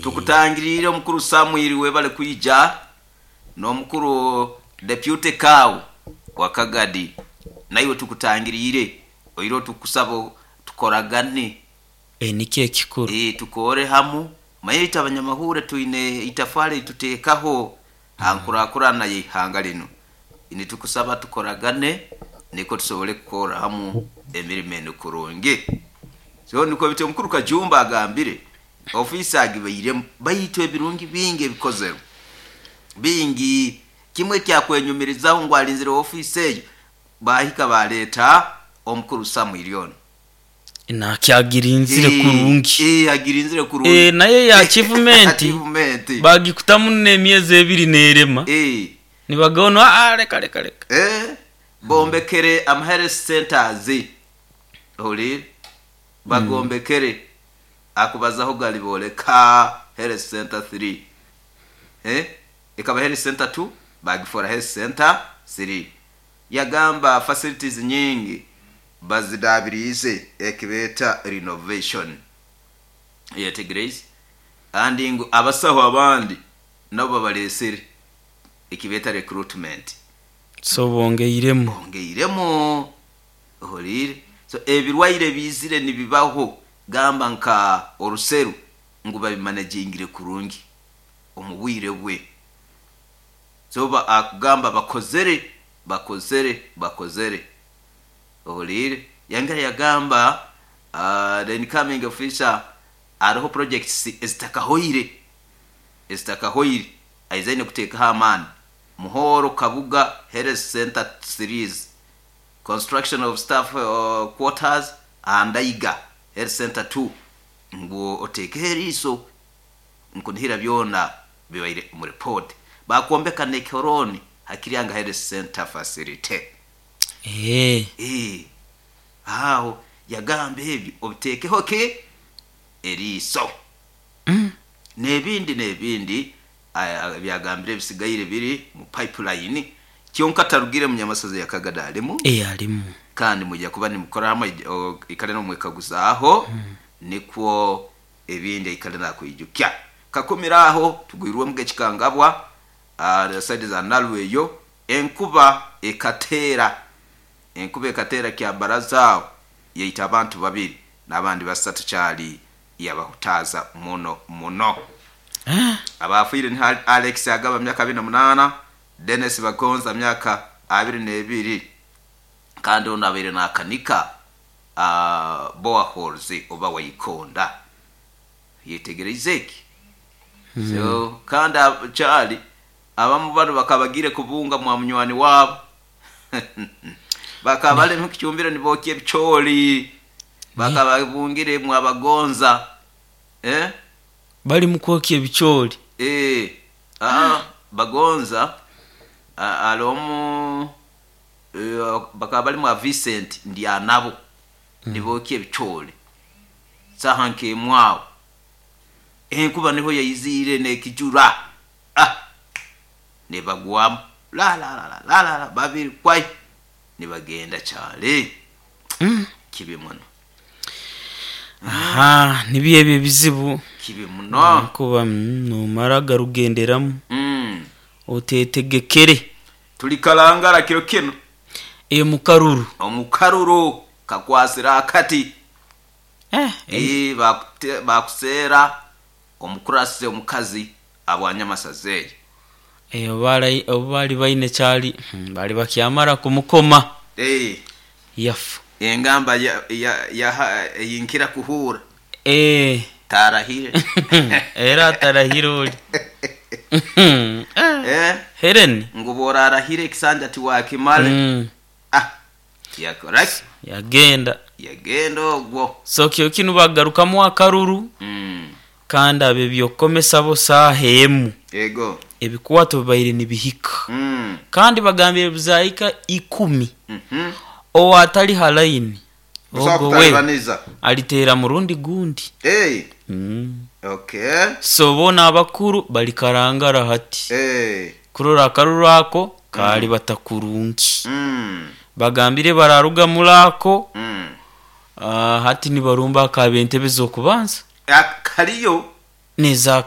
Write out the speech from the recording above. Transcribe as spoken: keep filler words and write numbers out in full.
Tukutangirire omukuru Samuel webale kwija, n'omukuru deputy kawu wa Kagadi, naiwe tukutangirire oire tukusaba tukoragane. E, nikyo ekikuru. E, tukore hamu manye itwe abanyamahure twine itafari tuteekaho hankurakurana y'ihanga linu. Nitukusaba tukoragane niko tusobole kukora hamu emirimo enu kurungi. So nikwo bityo omukuru Kajumba agambire ofiisi agibairemu, baitu ebirungi bingi ebikozerwe bingi. Kimwe kyakwenyumirizaho ngu alinzire ofiisi eyo bahika baleeta omukuru Samuel ono. Nakyagirinzire Eh, kurungi. eh, agirinzire kurungi. Eh, naye ya achievement Achievement. bagikutamu n'emyezi ebiri nerema. Eh. Nibagona ah, reka reka reka. Eh, bombekere ama health centers oli bagombekere akubazaho gali boleka health center three, eh ikaba health center two bagifora health center three. Yagamba facilities nyingi bazidabirize ekibeta renovation yetegereze, kandi ngu abasaho abandi nabo babalesere ekibeta recruitment. So bongeiremu. Bongeiremu ohorire. So ebirwaire bizire nibibaho, gamba nka oruseru ngu babimanagingire kurungi omu bwire bwe. So ba akugamba bakozere bakozere bakozere ohorire. Yangera yagamba uh, the incoming officer ariho projects ezitakahoire ezitakahoire aizaine kuteekaho amaani. Muhoro Kabuga Health Center series, construction of staff uh, quarters and Aiga Health Center two, ngu oteekeho eriiso nkunihira byona bibaire mu report. Bakombeka nekoroni hakiryanga Health Center facility. Eh. Eh. Aho yagamba ebyo obiteekeho ke eriiso. Mm. N'ebindi n'ebindi byagambire ebisigaire biri mu pipeline. Kyonka tarugire mu nyamasozi ya Kagadi alimu. Eh, alimu. Kandi mujya kuba nimukora hamwe ikale no mwekaguzaaho. Mm. Nikwo ebindi ikale nakwijukya. Kakumiraho tugwirwe muge kikangabwa uh, side za Nalweyo enkuba ekateera enkuba ekateera kya baraza yaita abantu babiri n'abandi basatu kyali yabahutaza muno muno. Ah. Abafiire ni Alex Agaba myaka abiri na munana, Dennis Bagonza myaka abiri n'ebiri, kandi ono abaire nakanika uh, boreholes oba waikonda. Yetegereze eki. Mm. So kandi kyali abamu bano bakabagire kubunga mwa munywani wabo. Bakabale mu kicumbiro nibokye ebicooli. Bakababungire mwa Bagonza. Eh? Bali mu kwokya ebicooli. Eh, ah, Bagonza alomu eh, bakaba bali mwa Vincent Ndyanabo. Mm. Nibokya ebicooli. Saha nkemwawo. Enkuba niho yayizire nekijura. Ah. Nebagwamu. La la la la la la babiri kwai. Nibagenda kyale. Mm. Kibi muno. Aha, nibyo ebyo ebizibu. Kibi muno. Kuba nomara garugenderamu. Mm. Otetegekere. Tuli kalangala kiro kino. E mukaruru. Omukaruru kakwasira akati. Eh, eh bakusera omukurase omukazi abwanyamasazeyi. Eh, obali obali baine kyali bali bakyamara kumukoma. Eh. Yafu. Engamba ya ya, ya yinkira kuhura. Eh. Tarahire. Era tarahire oli. Eh. Helen. Ngubora arahire kisanja tiwakimale. Mm. Ah. Yakora. Yagenda. Yagenda ogwo. So kyo kinu bagarukamu akaruru. Mm. Kandi abe byokomesa bo sahemu. Ego. Ebikwato bibaire nibihika. Mm. Kandi bagambire bizahika ikumi. Mhm. O atali halaini. Ogo we alitera murundi gundi. Hey. Mm. Okay. So bona abakuru bali karangara hati. Hey. Kurora akaruru ako kali batakurungi. Mm. Bagambire bararuga mulako. Mm. Uh, hati nibarumba akabentebe zokubanza. Akaliyo. Nezaka.